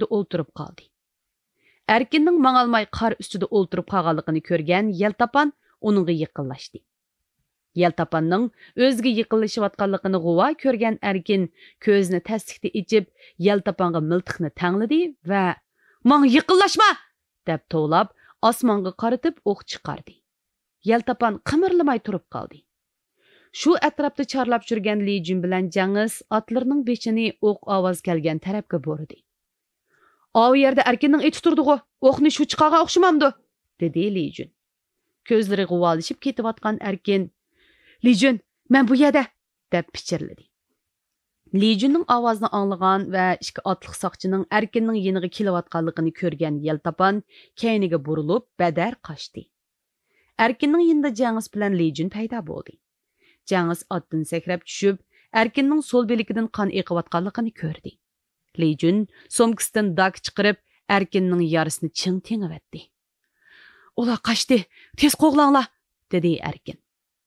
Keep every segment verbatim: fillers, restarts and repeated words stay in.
ئۈستىدە ئولتۇرۇپ قالدى. ئەركىننىڭ ماڭالماي قار ئۈستىدە ئولتۇرۇپ قالغانلىقىنى كۆرگەن يەلتاپان ئۇنىڭغا يېقىنلاشتى. يەلتاپاننىڭ ئۆزىگە يېقىنلىشىۋاتقانلىقىنى غۇۋا كۆرگەن ئەركىن كۆزىنى تەسلىكتە ئېچىپ، يەلتاپانغا مىلتىقنى تەڭلىدى ۋە «ماڭا يېقىنلاشما!» دەپ توۋلاپ، ئاسمانغا قارىتىپ ئوق چىقاردى. يەلتاپان قىمىرلىماي تۇرۇپ قالدى. شۇ ئەتراپتا چارلاپ يۈرگەن لى جۈن بىلەن جەڭىس ئاتلىرىنىڭ بېشىنى ئوق ئاۋازى كەلگەن تەرەپكە بۇرىدى. «ئاۋۇ يەردە ئەركىننىڭ ئېتى تۇرىدىغۇ، ئوقنى شۇ چىقارغان ئوخشىمامدۇ؟» دېدى لى جۈن. كۆزلىرى غۇۋالىشىپ كېتىۋاتقان ئەركىن، «لى جۈن، مەن بۇ يەردە!» دەپ پىچىرلىدى. لى جۈننىڭ ئاۋازىنى ئاڭلىغان ۋە ئىككى ئاتلىق ساقچىنىڭ ئەركىننىڭ يېنىغا كېلىۋاتقانلىقىنى كۆرگەن يەلتاپان كەينىگە بۇرۇلۇپ بەدەر قاچتى. ئەركىننىڭ يېنىدا جەڭىس بىلەن لى جۈن پەيدا بولدى. جەڭىس ئاتتىن سەكرەپ چۈشۈپ، ئەركىننىڭ سول بىلىكىدىن قان ئېقىۋاتقانلىقىنى كۆردى. لى جۈن سومكىسىدىن داكا چىقىرىپ، ئەركىننىڭ يارىسىنى چىڭ تېڭىۋەتتى. «ئۇلار قاچتى، تېز قوغلاڭلار!» دېدى ئەركىن.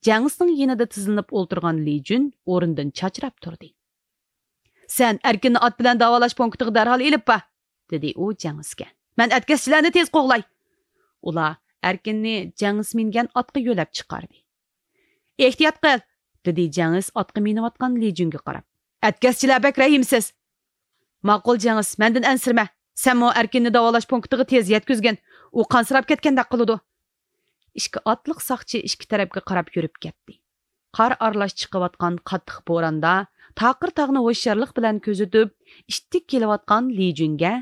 جەڭىسنىڭ يېنىدا تىزلىنىپ ئولتۇرغان لى جۈن ئورنىدىن چاچراپ تۇردى. «سەن ئەركىننى ئات بىلەن داۋالاش پونكىتىغا دەرھال ئېلىپ بار!» دېدى ئۇ جەڭىسكە. «مەن ئەتكەسچىلەرنى تېز قوغلاي!» ئۇلار ئەركىننى جەڭىس مىنگەن ئاتقا يۆلەپ چىقاردى. «ئېھتىيات قىل!» دېدى جەڭىس ئاتقا مىنىۋاتقان لى جۈنگە قاراپ. «ئەتكەسچىلەر بەك رەھىمسىز!» «ماقۇل جەڭىس، مەندىن ئەنسىرىمە. سەنمۇ ئەركىننى داۋالاش پونكىتىغا تېز يەتكۈزگىن. ئۇ قانسىراپ كەتكەندەك قىلىدۇ.» ئىككى ئاتلىق ساقچى ئىككى تەرەپكە قاراپ يۈرۈپ كەتتى. قار ئارىلاش چىقىۋاتقان قاتتىق بوراندا تاقىر تاغنى ھوشيارلىق بىلەن كۆزىتىپ، ئىتتىك كېلىۋاتقان لى جۈنگە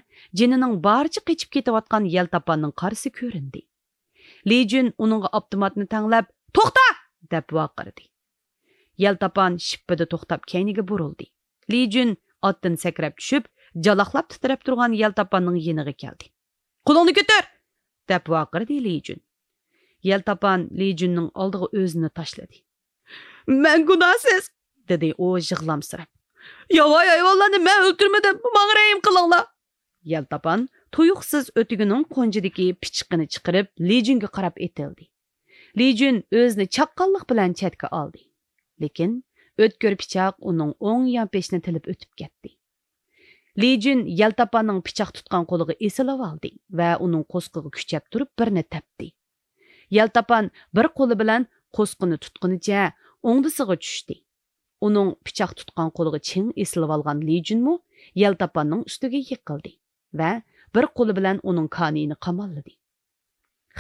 جېنىنىڭ بارىچە قېچىپ كېتىۋاتقان يەلتاپاننىڭ قارىسى كۆرۈندى. لى جۈن ئۇنىڭغا ئاپتوماتنى تەڭلەپ، «توختا!» دەپ ۋارقىرىدى. يەلتاپان شىپپىدە توختاپ كەينىگە بۇرۇلدى. لى جۈن ئاتتىن سەكرەپ چۈشۈپ، جالاقلاپ تىترەپ تۇرغان يەلتاپاننىڭ يېنىغا كەلدى. «قولۇڭنى كۆتۈر!» دەپ ۋارقىرىدى لى جۈن. يەلتاپان لى جۈننىڭ ئالدىغا ئۆزىنى تاشلىدى. «مەن گۇناھسىز!» دېدى ئۇ يىغلامسىراپ. «ياۋايى ھايۋانلارنى مەن ئۆلتۈرمىدىم، ماڭا رەھىم قىلىڭلار!» يەلتاپان تۇيۇقسىز ئۆتۈكىنىڭ قونجىدىكى پىچىقىنى چىقىرىپ، لى جۈنگە قاراپ ئېتىلدى. لى جۈن ئۆزىنى چاققانلىق بىلەن چەتكە ئالدى. لېكىن ئۆتكۈر پىچاق ئۇنىڭ ئوڭ يانپېشىنى تىلىپ ئۆتۈپ كەتتى. لى جۈن يەلتاپاننىڭ پىچاق تۇتقان قولىغا ئېسىلىۋالدى ۋە ئۇنىڭ قوسىقىغا كۈچەپ تۇرۇپ بىرنى تەپتى. يەلتاپان بىر قولى بىلەن قوسىقىنى تۇتقىنىچە ئوڭدىسىغا چۈشتى. ئۇنىڭ پىچاق تۇتقان قولىغا چىڭ ئېسىلىۋالغان لى جۈنمۇ يەلتاپاننىڭ ئۈستىگە يىقىلدى ۋە بىر قولى بىلەن ئۇنىڭ كانىيىنى قاماللىدى.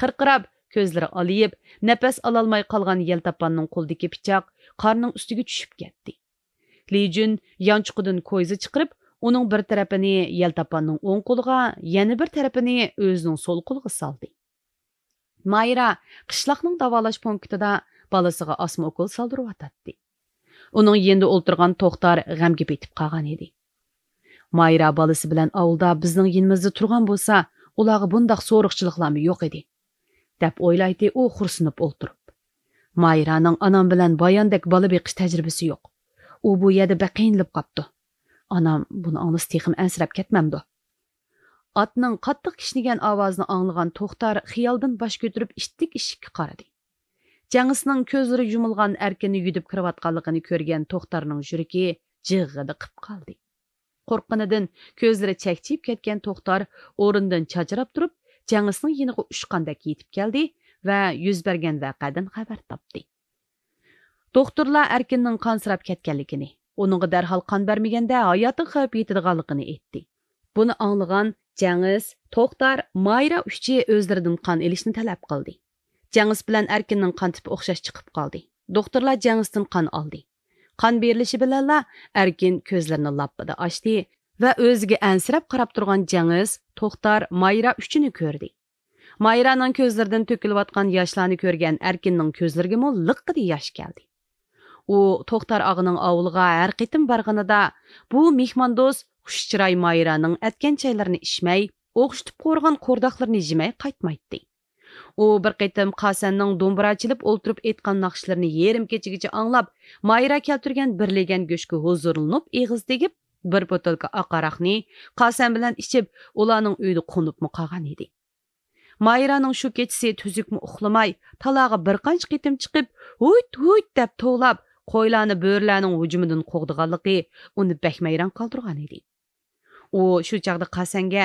خىرقىراپ، كۆزلىرى ئالىيىپ، نەپەس ئالالماي قالغان يەلتاپاننىڭ قولىدىكى پىچاق قارنىڭ ئۈستىگە چۈشۈپ كەتتى. لى جۈن يانچۇقىدىن كويزا چىقىرىپ، ئۇنىڭ بىر تەرىپىنى يەلتاپاننىڭ ئوڭ قولىغا، يەنە بىر تەرىپىنى ئۆزىنىڭ سول قولىغا سالدى. مايرا قىشلاقنىڭ داۋالاش پونكىتىدا بالىسىغا ئاسما ئوكۇل سالدۇرۇۋاتاتتى. ئۇنىڭ يېنىدا ئولتۇرغان توختار غەمگە پېتىپ قالغان ئىدى. مايرا بالىسى بىلەن ئاۋۇلدا بىزنىڭ يېنىمىزدا تۇرغان بولسا، ئۇلارغا بۇنداق سورۇقچىلىقلارمۇ يوق ئىدى، دەپ ئويلايتتى ئۇ خورسىنىپ ئولتۇرۇپ. مايرانىڭ ئانام بىلەن باياندەك بالا بېقىش تەجرىبىسى يوق. ئۇ بۇ يەردە بەك قىينىلىپ قاپتۇ. ئانام بۇنى ئاڭلىسا تېخىمۇ ئەنسىرەپ كەتمەمدۇ؟ ئاتنىڭ قاتتىق كىشنىگەن ئاۋازىنى ئاڭلىغان توختار خىيالدىن باش كۆتۈرۈپ ئىتتىك ئىشىككە قارىدى. جەڭىسنىڭ كۆزلىرى يۇمۇلغان ئەركىننى يۈدۈپ كىرىۋاتقانلىقىنى كۆرگەن توختارنىڭ يۈرىكى جىغغىدە قىپ قالدى. قورققىنىدىن كۆزلىرى چەكچىيىپ كەتكەن توختار ئورنىدىن چاچراپ تۇرۇپ، جەڭىسنىڭ يېنىغا ئۇچقاندەك يېتىپ كەلدى ۋە يۈز بەرگەن ۋەقەدىن خەۋەر تاپتى. دوختۇرلار ئەركىننىڭ قانسىراپ كەتكەنلىكىنى، ئۇنىڭغا دەرھال قان بەرمىگەندە ھاياتىغا خەۋپ يېتىدىغانلىقىنى ئېيتتى. بۇنى ئاڭلىغان جەڭىس، توختار، مايرا ئۈچى ئۆزلىرىدىن قان ئېلىشنى تەلەپ قىلدى. جەڭىس بىلەن ئەركىننىڭ قان تىپى ئوخشاش چىقىپ قالدى. دوختۇرلار جەڭىستىن قان ئالدى. قان بېرىلىشى بىلەنلا ئەركىن كۆزلىرىنى لاپپىدە ئاچتى ۋە ئۆزىگە ئەنسىرەپ قاراپ تۇرغان جەڭىس، توختار، مايرا ئۈچىنى كۆردى. مايرانىڭ كۆزلىرىدىن تۆكۈلۈۋاتقان ياشلارنى كۆرگەن ئەركىننىڭ كۆزلىرىگىمۇ لىققىدە ياش كەلدى. ئۇ توختار ئاغىنىڭ ئاۋۇلىغا ھەر قېتىم بارغىنىدا، بۇ مېھماندوست خۇش چىراي مايرانىڭ ئەتكەن چايلىرىنى ئىچمەي، ئوخشىتىپ قورۇغان قورداقلىرىنى يېمەي قايتمايتتى. ئۇ بىر قېتىم قاسەننىڭ دومبۇرا چېلىپ ئولتۇرۇپ ئېيتقان ناخشىلىرىنى يېرىم كېچىگىچە ئاڭلاپ، مايرا كەلتۈرگەن بىر لېگەن گۆشكە ھۇزۇرلىنىپ ئېغىز تېگىپ، بىر بوتۇلكا ئاق ھاراقنى قاسەن بىلەن ئىچىپ، ئۇلارنىڭ ئۆيىدە قونۇپمۇ قالغان ئىدى. مايرانىڭ شۇ كېچىسى تۈزۈكمۇ ئۇخلىماي، تالاغا بىر قانچە قېتىم چىقىپ، ھۇيت، ھۇيت دەپ توۋلاپ، قويلارنى بۆرىلەرنىڭ ھۇجۇمىدىن قوغدىغانلىقى ئۇنى بەكمۇ ھەيران قالدۇرغان ئىدى. ئۇ شۇ چاغدا قاسەنگە: